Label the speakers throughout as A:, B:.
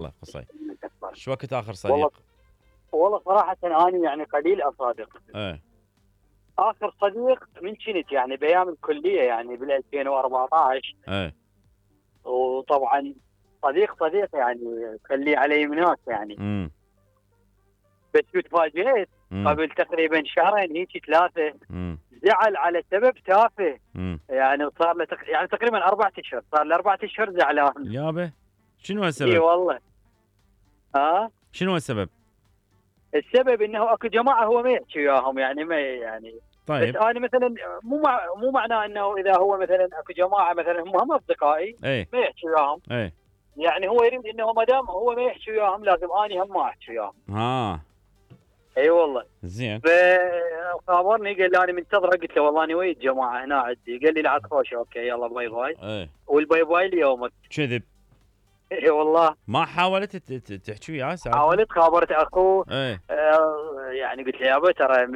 A: الله قصي.
B: من أكبر.
A: شو وقت اخر صديق؟
B: والله صراحة أنا يعني قليل أصادق.
A: ايه.
B: آخر صديق من كنت يعني بأيام الكلية يعني بال 2014.
A: ايه.
B: وطبعا صديق يعني خليه على يمناك يعني. بس تفاجئت قبل تقريبا شهرين هيك 3 زعل على سبب تافه. يعني صار له يعني تقريبا 4 أشهر، صار له 4 أشهر زعلان.
A: يابا شنو السبب؟
B: اي والله.
A: شنو السبب؟
B: السبب انه اكو جماعه هو ما يحكي وياهم يعني ما يعني.
A: طيب.
B: بس انا مثلا مو معناه انه اذا هو مثلا اكو جماعه مثلا هم اصدقائي ما يحكي وياهم. يعني هو يريد انه ما دام هو ما يحكي وياهم لازم اني هم ما احكي وياهم. اي والله.
A: زين.
B: فخابرني قال لي انا منتظره، قلت له والله انا ويا الجماعه هنا عندي، قال لي لا تخوش اوكي يلا باي باي. والباي باي ليومك.
A: كذب.
B: اي والله.
A: ما حاولت تحكي وياه سالفه؟
B: حاولت، خابرت اخوه. يعني قلت له يابا ترى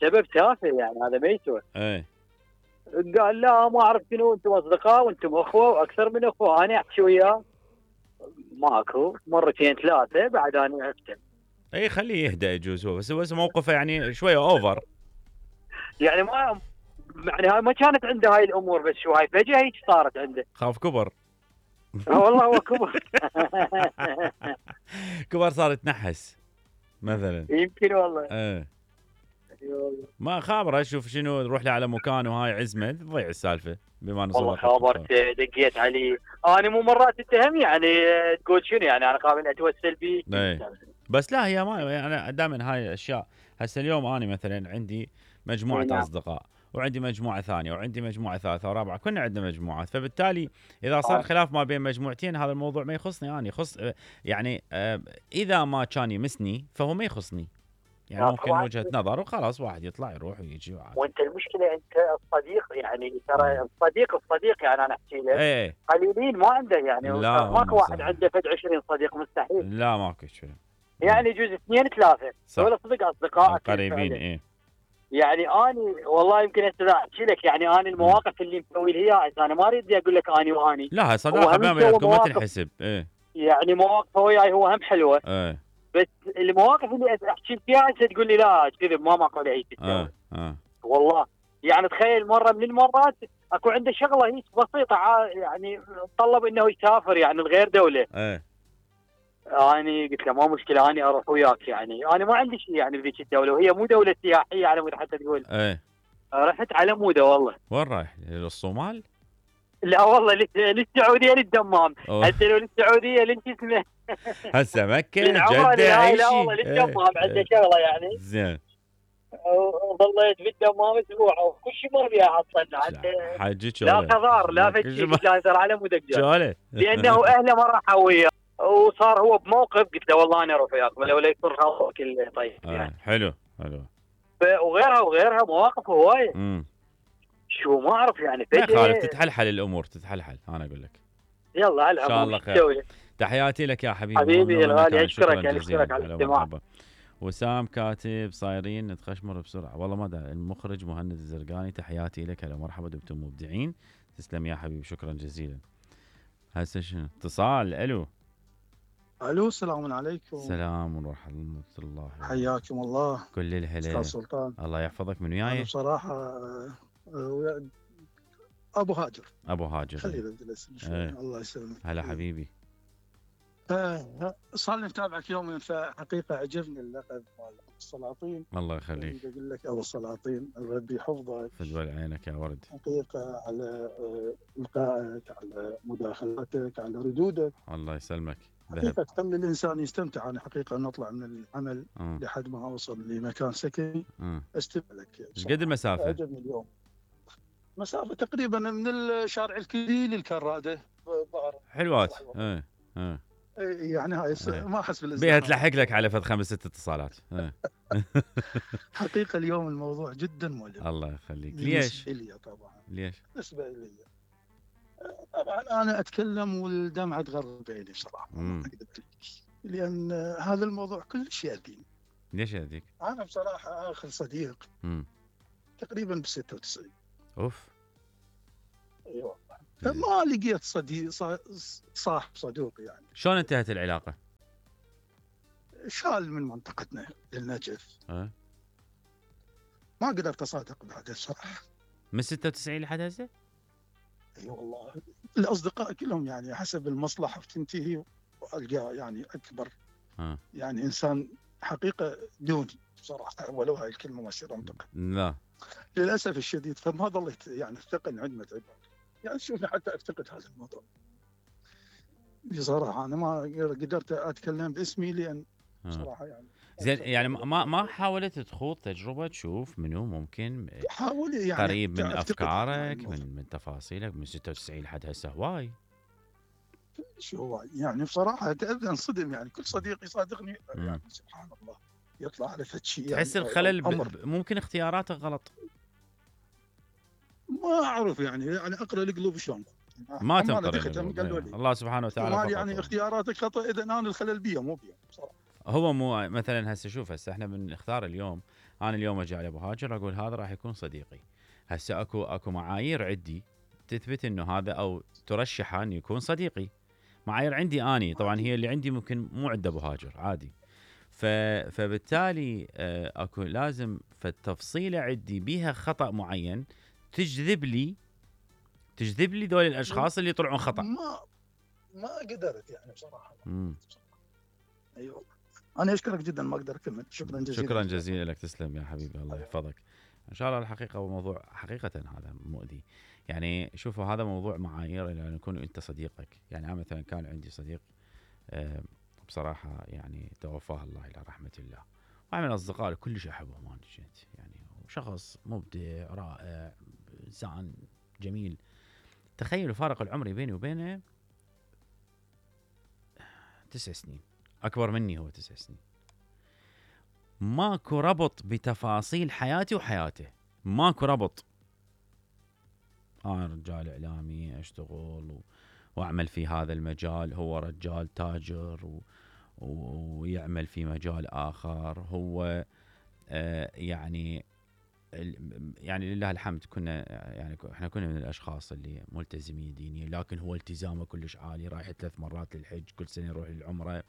B: سبب تافه يعني هذا ما يسوى. قال لا ما اعرف شنو، انتم اصدقاء وانتم اخوه واكثر من اخوه، انا احكي وياه ماكو مرتين 3 بعد انا عرفت.
A: اي خليه يهدأ يجوز هو، بس موقفه يعني شويه اوفر.
B: يعني ما يعني هاي ما كانت عنده هاي الامور، بس شو هاي فجأة هيك صارت عنده.
A: خاف كبر.
B: والله هو كبر.
A: كبر صار يتنحس مثلا.
B: يمكن والله.
A: ما خابره، اشوف شنو نروح له على مكان وهاي عزمه تضيع السالفه بما انه
B: والله خابرت دقيت عليه انا مو مرات اتهم يعني تقول شنو يعني انا قابل اتوسل بيه.
A: بس لا هي ما انا دائما هاي الاشياء. هسه اليوم انا مثلا عندي مجموعه اصدقاء وعندي مجموعه ثانيه وعندي مجموعه ثالثه ورابعه، كنا عندنا مجموعات، فبالتالي اذا صار خلاف ما بين مجموعتين هذا الموضوع ما يخصني انا، يخص يعني اذا ما كان يمسني فهو ما يخصني. يعني ممكن وجهه نظر وخلاص واحد يطلع يروح ويجي وعادي.
B: وانت المشكله انت الصديق يعني ترى الصديق يعني انا احكي لك قليلين ما عنده يعني ماكو واحد عنده فد 20 صديق مستحيل.
A: لا ماكو شيء يعني
B: يجوز 2 3 هذول صدق اصدقاء
A: قريبين.
B: يعني اني والله يمكن احكي لك يعني انا المواقف اللي مسوي لي اياها انا ما اريد اقول لك اني واني
A: لا صداقه بينكم ما تنحسب.
B: يعني مواقفه وياي هو هم حلوه. بس المواقف اللي احكي فيها انت تقول لي لا كذب ما ماكو عليه شيء. والله يعني تخيل مره من المرات اكو عنده شغله هيك بسيطه يعني طلب انه يسافر يعني لغير دوله. اني قلت له ما مشكله اني اروح وياك، يعني انا ما عندي شيء يعني بذيك الدوله وهي مو دوله سياحيه على مود حتى تقول. رحت على موده والله.
A: وين رايح؟ للصومال؟
B: لا والله للسعوديه للدمام. هسه لو للسعوديه لين اسمه
A: هسه مكه جده
B: لا والله للدمام عنده شغله يعني.
A: زين.
B: وظليت في الدمام اسبوع وكل شيء مر بيها حصلنا
A: حاجك
B: لا قضار لا فشي لا صار على مود لانه اهله ما راحوا وياه وصار هو بموقف قلت له والله انا اروح وياك ولا يصير خاطرك طيب يعني.
A: حلو.
B: وغيرها مواقف هوايه. شو ما اعرف يعني
A: ما يخالف تتحلحل الامور تتحلحل انا اقول لك.
B: يلا على
A: ان شاء الله خير. تحياتي لك يا حبيبي
B: الغالي اشكرك على الاستماع.
A: وسام كاتب صايرين نتخشمر بسرعه والله ما داري. المخرج مهند الزرقاني تحياتي لك، هلا مرحبا دمتم مبدعين. تسلم يا حبيبي شكرا جزيلا. هسه شنو اتصال؟ الو
C: السلام عليكم.
A: السلام ورحمه الله.
C: حياكم الله.
A: كل الهلا.
C: استاذ سلطان
A: الله يحفظك. من وياي؟
C: بصراحه ابو هاجر خلي نجلس الله يسلمك.
A: هلا حبيبي.
C: صار لي متابعك يومين، فحقيقه عجبني اللقب مال السلاطين.
A: الله يخليك.
C: اقول لك ابو السلاطين ربي يحفظك.
A: فدوى عينك يا ورد.
C: حقيقه على لقائك، على مداخلاتك، على ردودك.
A: الله يسلمك.
C: حقيقه تخلي الانسان يستمتع. انا حقيقه نطلع من العمل لحد ما اوصل لمكان سكني استمع لك.
A: ايش قد المسافه؟
C: عجبني اليوم. مسافه تقريبا من الشارع الكلي للكراده ظهر.
A: حلوات.
C: يعني هاي ما احس بالازدحام.
A: بيها تلحق لك على فد 5 6 اتصالات.
C: حقيقه اليوم الموضوع جدا مؤلم.
A: الله يخليك. ليش؟
C: بالنسبه لي طبعا.
A: ليش؟
C: بالنسبه لي طبعا انا اتكلم والدمعه تغرب بعيني بصراحه ما اكذب عليك، لان هذا الموضوع كلش يأذيني.
A: ليش يأذيك؟
C: انا بصراحه اخر صديق تقريبا ب 96.
A: اوف.
C: اي والله. فما لقيت صديق صاحب صدوق يعني.
A: شلون انتهت العلاقه؟
C: شال من منطقتنا للنجف. ما قدرت اصادق بعد الصراحه.
A: من 96 لحد هسه؟
C: اي والله الاصدقاء كلهم يعني حسب المصلحه بتنتهي، والقى يعني اكبر يعني انسان حقيقه دوني بصراحه، ولو هاي الكلمه ما يصير انطقها.
A: لا
C: للاسف الشديد، فما ظليت يعني الثقل عند متعب، يعني شوفني حتى افتقد هذا الموضوع بصراحه. انا ما قدرت اتكلم باسمي لان بصراحه يعني
A: زين. يعني ما حاولت تخوض تجربه تشوف منو ممكن
C: حاول يعني
A: قريب من افكارك من تفاصيلك من 96 لحد هسه؟ هواي
C: شو هواي يعني بصراحه ابدا انصدم، يعني كل صديق يصادقني يعني سبحان الله يطلع على فد شيء يعني
A: تحس الخلل ممكن اختياراتك غلط؟
C: ما اعرف يعني اقرا القلوب شلون
A: ما تنقر الله سبحانه وتعالى
C: يعني اختياراتك خطا اذا انا الخلل بيه مو بيه بصراحه.
A: هو مو مثلا هسه شوف، هسه احنا بنختار اليوم، انا اليوم اجي على ابو هاجر اقول هذا راح يكون صديقي. هسه اكو معايير عندي تثبت انه هذا او ترشحه ان يكون صديقي. معايير عندي اني طبعا، هي اللي عندي ممكن مو عند ابو هاجر عادي. فبالتالي اكو لازم فالتفصيله عندي بيها خطا معين تجذب لي دول الاشخاص اللي يطلعون خطا.
C: ما قدرت يعني بصراحه. ايوه انا اشكرك جدا، ما اقدر اكمل. شكرا جزيلا.
A: شكرا جزيلا لك، تسلم يا حبيبي، الله يحفظك. ان شاء الله الحقيقه وموضوع حقيقه هذا مؤذي. يعني شوفوا هذا موضوع معايير ان يكون انت صديقك. يعني انا مثلا كان عندي صديق بصراحه يعني توفاه الله الى رحمه الله، واحد من الاصدقاء اللي كلش احبه ما نجيت يعني، شخص مبدع رائع انسان جميل. تخيلوا الفارق العمري بيني وبينه 9 سنين، اكبر مني هو 9 سنين. ماكو ربط بتفاصيل حياتي وحياته، ماكو ربط. انا رجال اعلامي اشتغل واعمل في هذا المجال، هو رجال تاجر ويعمل في مجال اخر. هو يعني لله الحمد كنا يعني احنا كنا من الاشخاص اللي ملتزمين دينيا، لكن هو التزامه كلش عالي، رايح 3 مرات للحج، كل سنه يروح للعمره.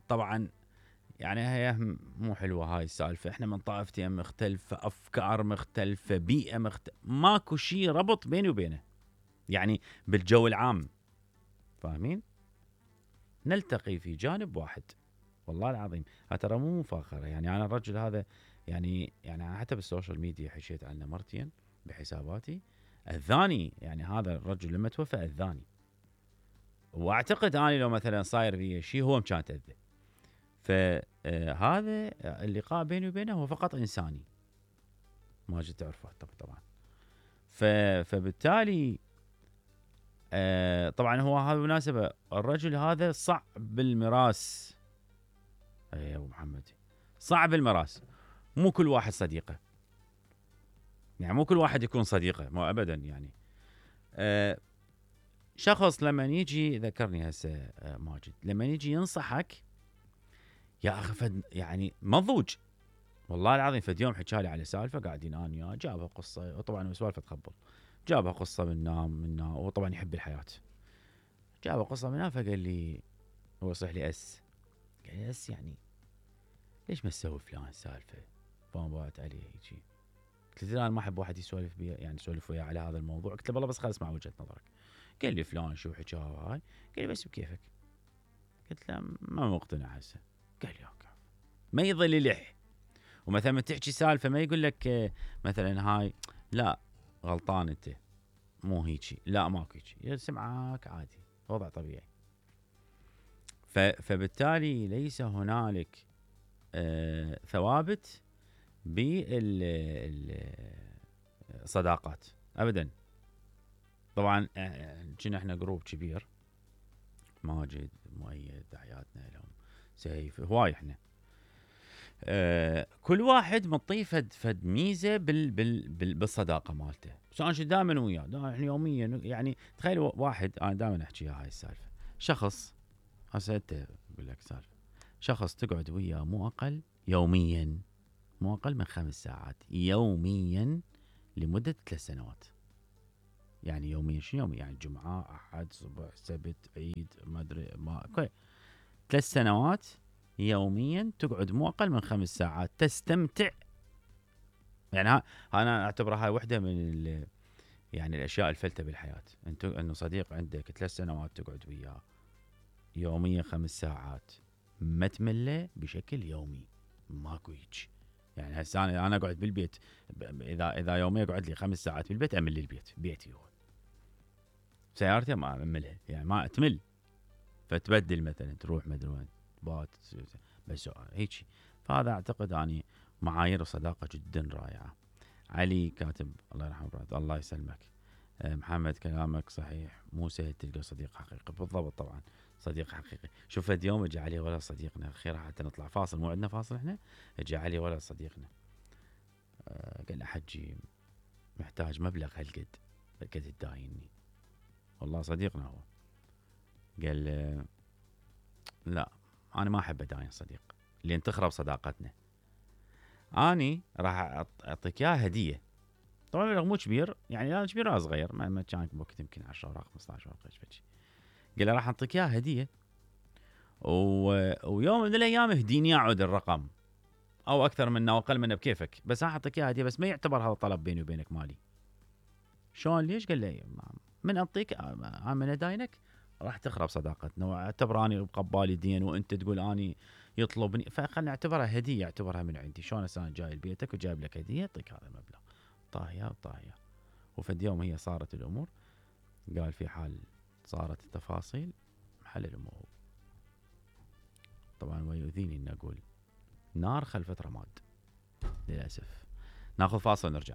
A: طبعا يعني هي مو حلوه هاي السالفه، احنا من طائفتين مختلفه، افكار مختلفه، بيئه مختلفه، ماكو شيء ربط بيني وبينه يعني بالجو العام، فاهمين؟ نلتقي في جانب واحد والله العظيم. ترى مو مفاخره يعني، انا الرجل هذا يعني أنا حتى بالسوشيال ميديا حكيت عنه مرتين بحساباتي، اذاني يعني هذا الرجل لما توفى اذاني، واعتقد اني لو مثلا صاير في شيء هو كان تاذى. فهذا اللقاء بيني وبينه هو فقط انساني، ماجد تعرفه طبعا. فبالتالي طبعا هو هذا بالمناسبه الرجل هذا صعب بالمراس يا ابو محمد، صعب المراس. مو كل واحد صديقه يعني، مو كل واحد يكون صديقه، مو ابدا يعني. شخص لما يجي ذكرني هسه ماجد، لما يجي ينصحك يا اخي فد يعني مضوج والله العظيم. فد يوم حكى لي على سالفه قاعدين انا وياه، جابها قصه، وطبعا سوالفه تخبل، جابها قصه منا وطبعا يحب الحياه، جابها قصه منا. فقال لي هو صح لي قال لي يعني ليش ما تسوي فلان سالفه؟ فانبعت عليه هيجي. قلت له انا ما احب واحد يسولف بي يعني يسولف وياه على هذا الموضوع. قلت له والله بس خل اسمع وجهه نظرك. قال لي فلان شو حكى هاي؟ قال لي بس بكيفك. قلت له ما مقتنع هسه. قال لي اوكي. ما يظل يلح، ومثلا ما تحكي سالفه ما يقول لك مثلا هاي لا غلطان انت مو هيجي، لا ماكو هيجي، يسمعك عادي وضع طبيعي. فبالتالي ليس هنالك ثوابت بالصداقات ابدا. طبعا كنا احنا جروب كبير، ماجد مؤيد تحياتنا لهم، سيف، هواي احنا كل واحد مطيه فد ميزه بالصداقه مالته. بس انا دائما وياه احنا يوميا يعني. تخيل واحد انا دائما احكيها هاي السالفه، شخص هسه انت اقول لك سالفه، شخص تقعد وياه مو اقل يوميا، مو اقل من 5 ساعات يوميا لمده 3 سنوات يعني يوميا شنو يوميا؟ يعني جمعه، احد، صبح، سبت، عيد، ما ادري ما اوكي. 3 سنوات يوميا تقعد مو اقل من 5 ساعات تستمتع. يعني انا اعتبرها هاي وحده من يعني الاشياء الفلتة بالحياه. انه صديق عندك 3 سنوات تقعد وياه يوميا 5 ساعات ما تمله بشكل يومي، ماكو هيك. يعني هسه انا اقعد بالبيت، اذا يوميا اقعد لي 5 ساعات بالبيت امل البيت، بيتي هو. سيارتي ما املها، يعني ما اتمل. فتبدل مثلا تروح مدري وين بات بس هيك. فهذا اعتقد اني معايير الصداقه جدا رائعه. علي كاتب الله يرحمه الله يسلمك. محمد كلامك صحيح، مو سهل تلقى صديق حقيقي. بالضبط طبعا صديق حقيقي. شوف اليوم اجى علي ولد صديقنا خير حتى نطلع فاصل، مو عندنا فاصل احنا. اجى علي ولد صديقنا قال له حجي محتاج مبلغ هالقد تدايني. والله صديقنا هو. قال لا انا ما احب اداين صديق لين تخرب صداقتنا. اني راح اعطيك اياه هديه. طبعا المبلغ مو كبير، يعني لا كبير ولا صغير، ما كان بوقت يمكن 10 اوراق 15 اوراق ايش. قال له راح اعطيك اياه هديه ويوم من الايام اهديني اعود الرقم او اكثر منه او اقل منه بكيفك، بس راح اعطيك اياه هديه، بس ما يعتبر هذا طلب بيني وبينك مالي. شلون ليش؟ قال لي من اعطيك من اداينك راح تخرب صداقتنا، واعتبر اني بقبالي دين وانت تقول اني يطلبني، فخلنا نعتبرها هديه، اعتبرها من عندي. شلون انا جاي لبيتك وجايب لك هديه اعطيك هذا المبلغ. طاهيه وطاهيه. وفد يوم هي صارت الامور، قال في حال صارت التفاصيل محل الامور. طبعا ويؤذيني ان اقول نار خلفت رماد للاسف. ناخذ فاصل ونرجع.